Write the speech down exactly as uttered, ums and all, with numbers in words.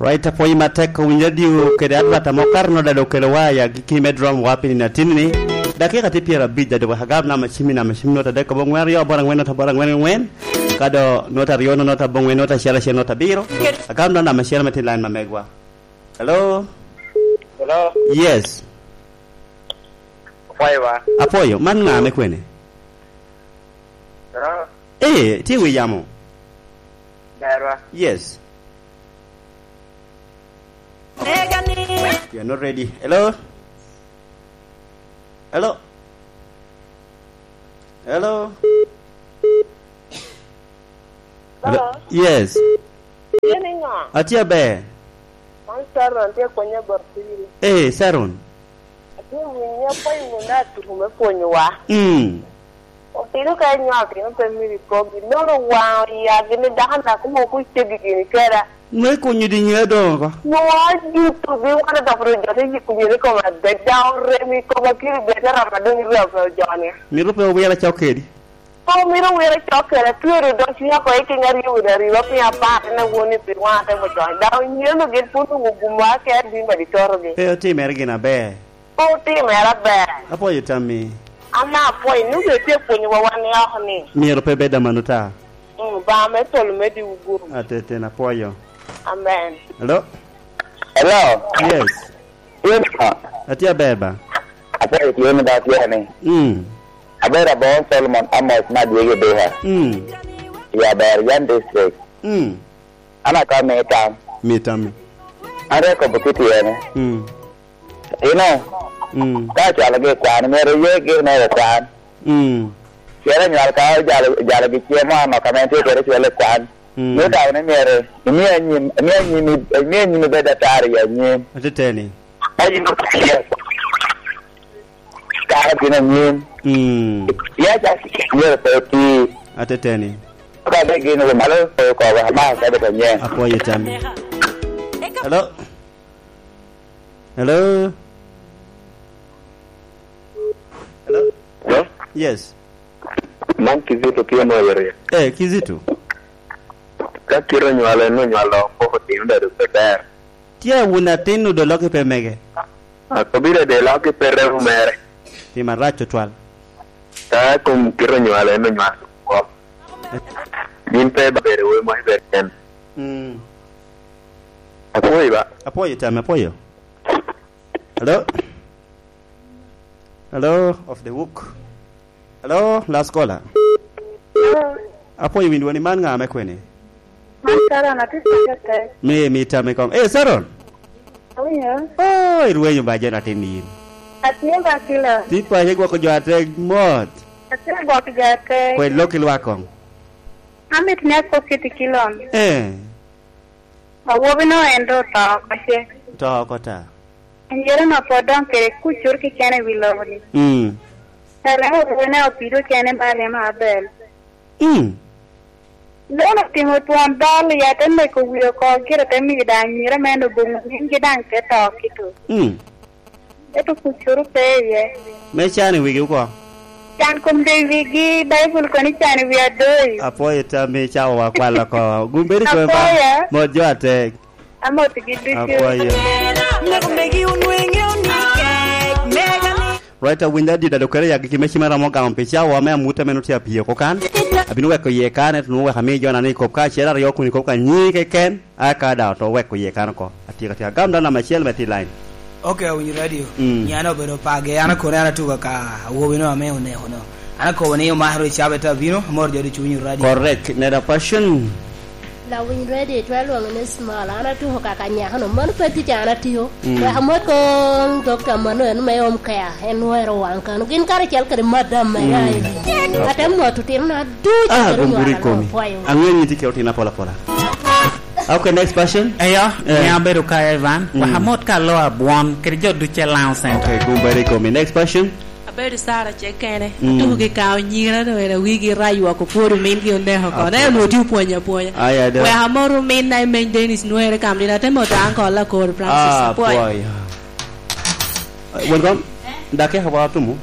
Right, apwoyi matek owinyo radio kede advert amo kar nota dok kelo wa ya giki me drum wa pi nino atin ni. Dakika tye pyerabic da dok agab namba cimi, namba cimi nota dek kobo angwen aryo aboro angwen nota aboro angwen angwen. Ka do nota aryo no nota abongwen nota acel acel nota abiro. Agab nota namba acel me tin line ma megwa. Hello? Hello? Yes. Apwoyo ba? Apwoyo. Man ŋa me kwene? Hello? Eh, tye wi yamo. Berwa. Yes. You are not ready. Hello? Hello? Hello? Hello? Hello? Yes. Tye ni ŋo? Atye aber. Man Sharon tye kwenya bot piri. Eh, Sharon. Atye winyo apwoyo wun atuku me pwonyowa. Mm. Otino ka inywalo otino pe mito ikogi, nono waŋo iya gini dako na kuma ok oceggi gini keda. Me kunyo di ŋe doŋo ko. Nwoŋo ajuto gi wan odoko ru jo te yiko myero i koma adek, daŋ orem i koma kiri bete rama doŋ irem pe ojoni. Mito pe owira cok kedi. Pe omito wira cok kede, atwero dok cwinya oko i kenya aryo wiye aryo, piny apar, en awoni pi wan atemo jony. Daŋ onyeno gin pwod onwoŋo gumwa ke abin badi torogi. Pe otimere gin aber. Pe otimere aber. Apwoyo tammi. An daŋ apwoyo, ni obed tye pwonyowa wan i oko ni. Myero pe bed amano ta. Mm, ba me polo me diwu guru. Ateten apwoyo. Amen. Hello? Hello? Yes. Yes, sir. Atye aber ba. Apwoyo tye ni ba tye ni. Mm. Abedo aboŋo Solomon Amos me Adyegi Duka. Mm. I Aber Yan District. Mm. An aka mi tam. Mi tammi. An rik kobo kit yene. Mm. Ino, mm, ka ocwalogi i kwan, myero oye gin mere i kwan. Mm. Pien anywal ka ojalo, ojalogi cem mo anok ame en tye kwede cwalo i kwan. Mm. Mio daŋ ni myero imio anyim, imio anyim, imio anyim ibed atar i anyim. Ateteni. Ka in okelo kare gin anyim. Mm. Ya ca myero pe oti. Ateteni. Ka de gin wo malo pe ko ba ma ka de ko nyen. Apwoyo tammi. Hello? Hello? Hello? Hello? Yes. Man Kizito tye mo yore. Eh, Kizito. Ka kite onywalo en onywalo poko tino dado pe ber. Tye wun atin odo lok i pe mege. Akobira de lok i pe remo mere. Tim arac tutwal. Ka kom kite onywalo en onywalo kop. Gin pe ba bedo we mo iber ken. Mm. Apwoyo ba. Apwoyo tam, apwoyo. Hello? Hello, of the wook. Hello, last caller. Hello. Apwoyo windowa ni man ŋa me kwene? Man Sharon, atye ka tek. Mi, mi tam i kom. Eh, Sharon. Awinyo. Oh, irwenyo ba jen atin yin. Atye ba kilo. Ti pa ye gwoko jo atek mot. Atye gwoko jo atek. Kwe lok i lwak kong. Amit ni akok kiti kilon. Eh. Awobi no en do oto oko ce. To oko ta. Anyira no pwod dong kede kucur keken i wi lobo ni. Mm. Kare awobi ne opido kene ba remo abel. Mm. Lono otimo twon dol, ya te neko wie oko, gire te miyo daŋ anyira me en oboŋo nyingi daŋ te to kito. Mm. Ento kucoro pe iye. Me can i wigi oko. Can kom de i wigi, Baibul kono i can i wi adoyi. Apwoyo tam i cawa wa kwalo oko. Gumbedi kome ba. Apwoyo. Mot jo atek. Amot gi ducu. Apwoyo. Mego megi onwenge onikek, mega ni. Right, awinyo adit, adokere ya giki me cima ramo gamo pi cawa me amuta meno tye apiye oko kan. Abino weko iye kan, ento nwoŋo wek ami jona ni kop ka acel aryo kun i kop ka nyi keken. Aka daŋ oto weko iye kan oko. Atyeko atyeka. Gam daŋ namba acel me ti line. Ok, awinyo radio. Mm. Nyana obedo page, an akone an atuka ka awobi no ame oneko no. An akobo ni omaro i cabe te abino, amor jo ducu winyo radio. Correct. Neda Passion. Lawiny radio, itwa lwongo ni Small. An atuko kaka nyako no. Mano pe tic an atiyo. Mm. Wek amot ko Dokta Manuel me Home Care. En wero wang kano. Gin kare cel kede madam me rai. Mm. Ate mot otino na ducu. Ah, kede gumburi nywalo komi. Pwayo. Ang'e ni tye kelo tina pola pola. Okay, next question. Eyo, eh, ne abedo ka Evan, mm, wek amot ka alo abwon, kede jo duce Laŋo Center. Okay, gumbari komi. Next question. Abedo Sara ce kene. Mm. Atuko ki ka onyira, no era wigi raywok opwodo min gi oneko ko. Apwoyo. Ne onwoŋo tye opwonyo apwonya. Aya, do. Wek amot omin na imeny Dennis Nwere kam din, ate mot uncle Akor Francis. Ah, apwoyo. Apwoyo. Eh, welcome. Dakika wa tumu.